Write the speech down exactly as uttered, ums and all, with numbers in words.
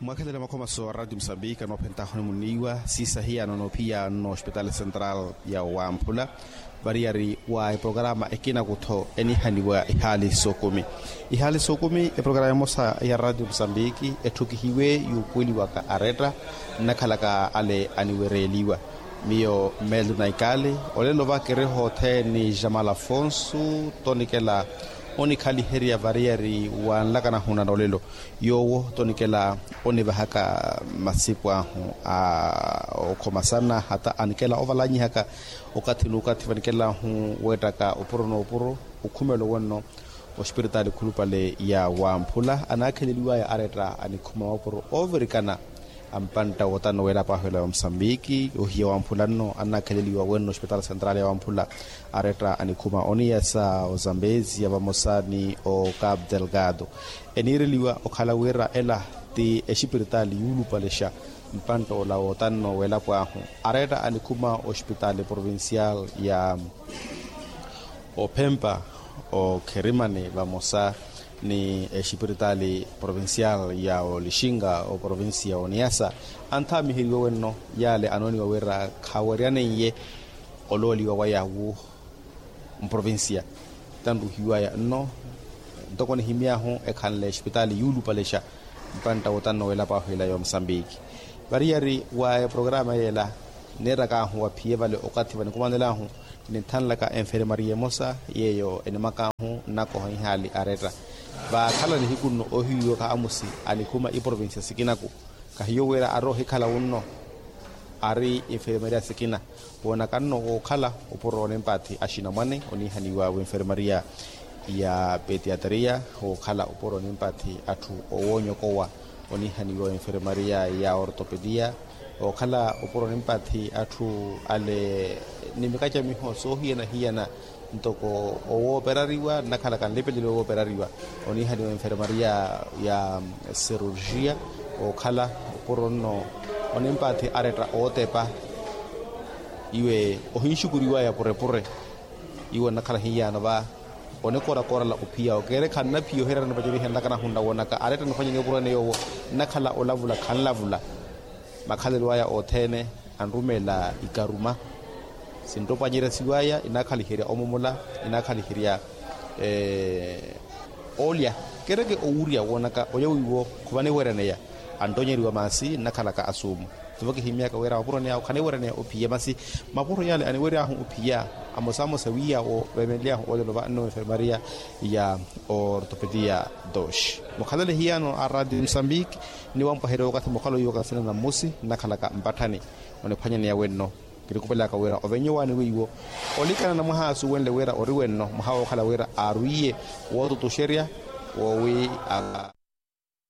Mwakhelele makhomaso a ratio musambiki anoophentahu onimuniiwa siisahiya nono phiya nno ospitaali central ya wamphula. Variyari wa eprograma ekinakutho enihaniwa ihaali sookumi ihaali sookumi eprograma emosa ya ratio musambiki etthukihiwe yuupuweliwaka aretta nnakhalaka ale aniwereeliwa. Miyo melo naikali olelo vakeriho othene ni jamal afonso tonikela onikhaliherya variyari wa nlakanahuna na olelo. Yoowo tonikela onivahaka masipu ahu a okhomasana hata anikela ovalanyihaka okathi n'ukathi vanikelahu weettaka opuro n'opuro. Okhumelo wenno ospiritaali khulupale ya wamphula anaakheleliwaya aretta anikhuma mapuro oovirikana a mpantta wotanno weelapo ahu ela ya omusambiki ohiya wamphula nno annaakheleliwa wenno ospitaali central ya wamphula aretta anikhuma oniyasa ozambezia vamosa ni ocapu delgado. Eniireliwa okhala wira ela ti exipiritaali yuulupalexa mpantta ola wotanno weelapo ahu aretta anikhuma ospitaali provincial ya ophempa okherimani vamosa ni exipiritaali provincial ya olixinga oprovincia oniyasa. Anthaamiheriwe wenno yaale anooniwa wira khaweryaneiye olooliwa waya wu mprovincia tanruhiwaya nno ntoko nihimy'ahu ekhanle exipitaali yuulupalexa mpantta wotanno weelapo ahu ela ya omusambiki. Variyari wa eprograma yeela neerak'ahu waphiye vale okathi vanikumanel'ahu ninthanlaka enfermaria emosa yeeyo enimak'ahu nnakoha ihaali aretta. Vakhala nihiku nno ohiwiwaka amusi anikhuma iprovincia sikinaku kahiyo wira ari ohikhala wunno ari enfermaria sikina woonaka nno wookhala opuro onimpathi axinamwane onihaniwa wenfermaria ya pediatria wookhala opuro onimpathi atthu owoonyokowa onihaniwa wenfermaria ya ortopedia wookhala opuro onimpathi atthu ale ni mikacamiho soohiyana-hiyana ntoko owooperariwa nnakhalaka nlipelelo owooperariwa onihaniwa enfermaria ya cirurgia wookhala opuro nno onimpathi aretta ootepa iwe ohinxukuriwaya purepure iwe nnakhala hiyaano va onikorakorala ophiya okeere khannaphiya ohererani vacerihe nnakanahu nnawoonaka aretta niphwanyani opuro ene yoowo nnakhala olavula khanlavula makhalelo aya othene anrumeela ikaruma sinropanyeryasiwaya inaakhaliherya omumula inaakhaliherya olya kereke owurya woonaka olya wiiwo khuvaniweryaneya antonyeriwa masi nnakhalaka asuumu tivo kihimyaka wira mapuro ni awo khaniweryaneya ophiya masi mapuro yale aniweryaahu ophiya amosamosa wiiya wo veemenlyaahu olelo va nno enfermaria ya ortopedia dos mukhalale hiyaano a radio musambiki ni wampwaherya okathi mukhalo iwo kasina na mmusi nnakhalaka mpatthani oniphwanyaneya wenno kirikupelaka wira ovenye owaani weiwo olikana na mwaha asuwenle wira ori wenno mwaha wookhala wira aarwiye wootutuxerya woowi a